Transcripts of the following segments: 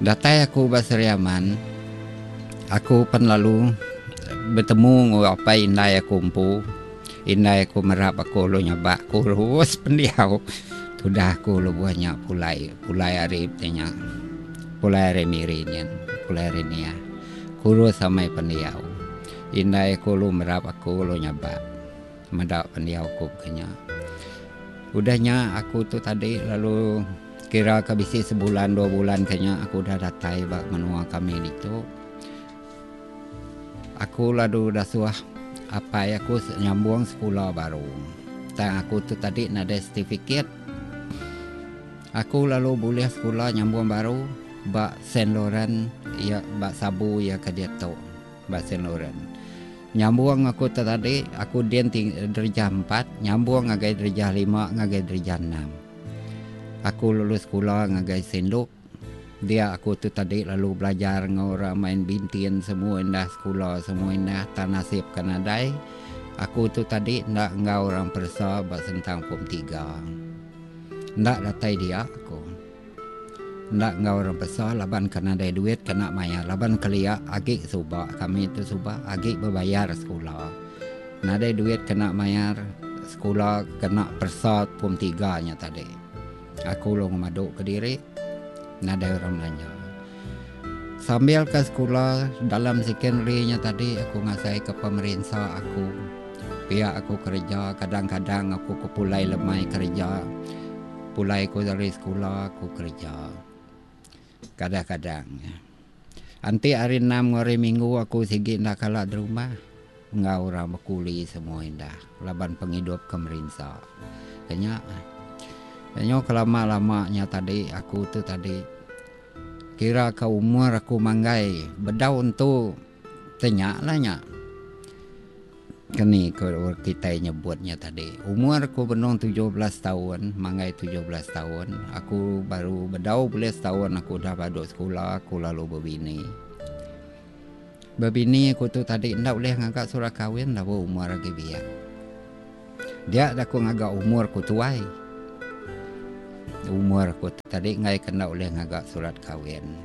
Datai aku ba Sri Aman, aku pen lalu betemu enggau apai indai aku empu. Indai aku merap aku lalu nyabak aku rus pendiau tudah aku lebuh nya pulai, pulai ari ti nya pulai ari Miri nyin, pulai ari Niah. Kurus amai pendiau. Indai aku lalu merap aku lalu nyabak. Meda pendiau aku ke nya. Udah nya aku tu tadi lalu kira ka bisi sebulan dua bulan ke nya aku udah datai ba menua kami ditu. Aku lalu dasuh apai aku nyambung sekula baru. Tang aku tu tadi nadai setifiket. Aku lalu bulih sekula nyambung baru ba Saint Laurent iya ba Sabu iya ke diatu ba Saint Laurent. Nyambung aku tu tadi, aku din ti derejah empat, nyambung ngagai derejah lima ngagai derejah enam. Aku lulus sekula ngagai Saint Luke. Dia aku tu tadi lalu belajar enggau orang main bintin semua indah sekula semua indah tang nasib ke nadai. Aku tu tadi enda enggau orang peresa ba sentang pom tiga. Enda datai dia aku. Enda enggau orang pesa laban ke nadai duit kena mayar laban kelia agi suba kami tu suba agi bebayar sekula. Nadai duit kena mayar sekula kena peresa pom tiga nya tadi. Aku lalu ngemadu kediri nadai orang belanja. Sambil ke sekula dalam secondary nya tadi aku ngasai ke pemerinsa aku. Pia aku kereja kadang-kadang aku ke pulai lemai kereja. Pulai ku ari sekula ku kereja. Kadang-kadang. Enti hari enam enggau hari minggu aku sigi enda kala derumah enggau orang bekuli semua indah laban pengidup ke merinsa. Nya nyu kelama-lama nya tadi aku tu tadi kira ka umur aku manggai bedau entu te nya lah nya. Keni ku kitai nyebut nya tadi. Umur aku benung 17 taun, manggai 17 taun, aku baru bedau bulih setaun aku udah badu sekula aku lalu bebini. Bebini aku tu tadi enda ulih ngaga surat kawin laban umur agi biak. Dia da aku ngaga umur ku tuai. Umur aku tu tadi enggai ke enda ulih ngaga surat kawin.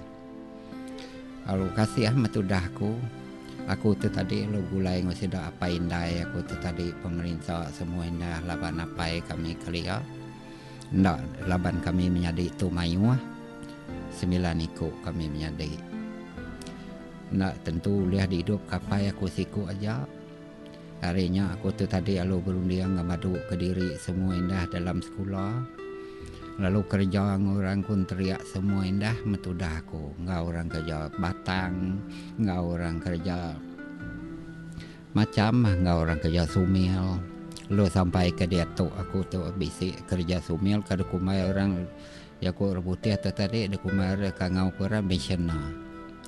Lalu kasih meh tudah aku. Aku tu tadi lalu begulai enggau sida apai indai aku tu tadi pemerinsa semua indah laban apai kami kelia. Enda laban kami menyadi tu mayuh semilan iku kami menyadi. Enda tentu ulih diidup ka apai aku siku aja. Ari nya aku tu tadi lalu berunding ngemadu kediri semua indah dalam sekula lalu kereja enggau orang kunterik semua indah metudah aku enggau orang kereja batang enggau orang kereja macham enggau orang kereja sumil lalu sampai ke diatu aku tu bisi kereja sumil ke dikumbai orang Jaku orang putih tu tadi dikumbai orang kangau ke orang missioner.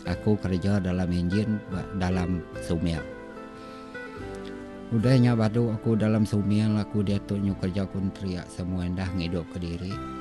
Aku kereja dalam enjin ba dalam sumil. Udah nya badu aku dalam sumil aku diatu nyu kereja kontrak semua indah ngidup kediri.